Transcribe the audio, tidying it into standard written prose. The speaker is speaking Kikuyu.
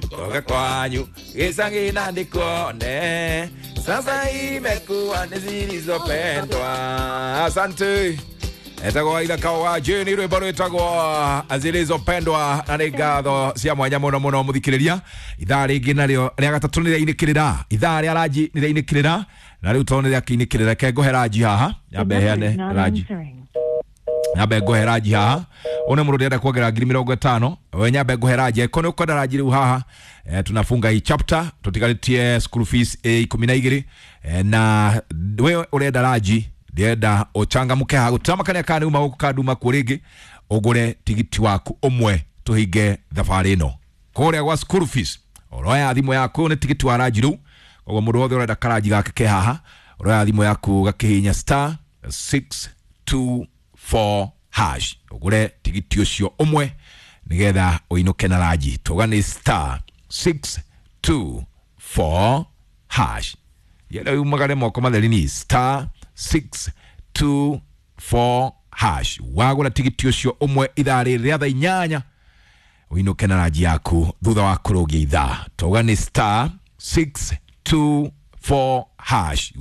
Toka kwanyu gicagi na ndikuone, sasa imekuwa ni zilizopendwa. Asante. Etagwo Ithaka wa Jane, rwimbo rwitagwo Zilizopendwa, na nĩ ngatho cia mwanya mũno mũno mũthikĩrĩria. Ithaa rĩngĩ narĩo rĩa gatatũ nĩ rĩainĩkĩrĩra, ithaa rĩa ranji nĩ rĩainĩkĩrĩra, na rĩu tondũ nĩ rĩakĩinĩkĩrĩra, reke ngũhe ranji haha, nyambe heane ranji, nyambe ngũhe ranji haha. Une mũndũ ndĩrenda kuongerera 50,000, we nyambe ngũhe ranji angĩkorwo nĩ ũkwenda ranji rĩu haha. Tunafunga hii chapter, tũtigarĩtie school fees 12, na we ũrenda ranji, ndĩrenda ũchangamke haha, gũtiramakania kana nĩ uma gũkũ kana nduma kuo rĩngĩ, ũgũre tigiti waku ũmwe tũhinge thabarĩ ĩno kũrĩa gwa school fees. Ũroya thimũ yaku, nĩ tigiti wa ranji rĩu, koguo mũndũ wothe ũrenda karanji gake ke haha, ũroya thimũ yaku gakihinya *624# ũgũre tigiti ũcio ũmwe nĩgetha ũinũke na ranji. Tuga nĩ *624#, yenda umagare moko matheri, ni *624#. Wagũra tigiti ũcio ũmwe ithaa rĩrĩ rĩa thaa 8, ũinũke na ranji yaku thutha wa kũrũgia ithaa. Tuga nĩ *624#.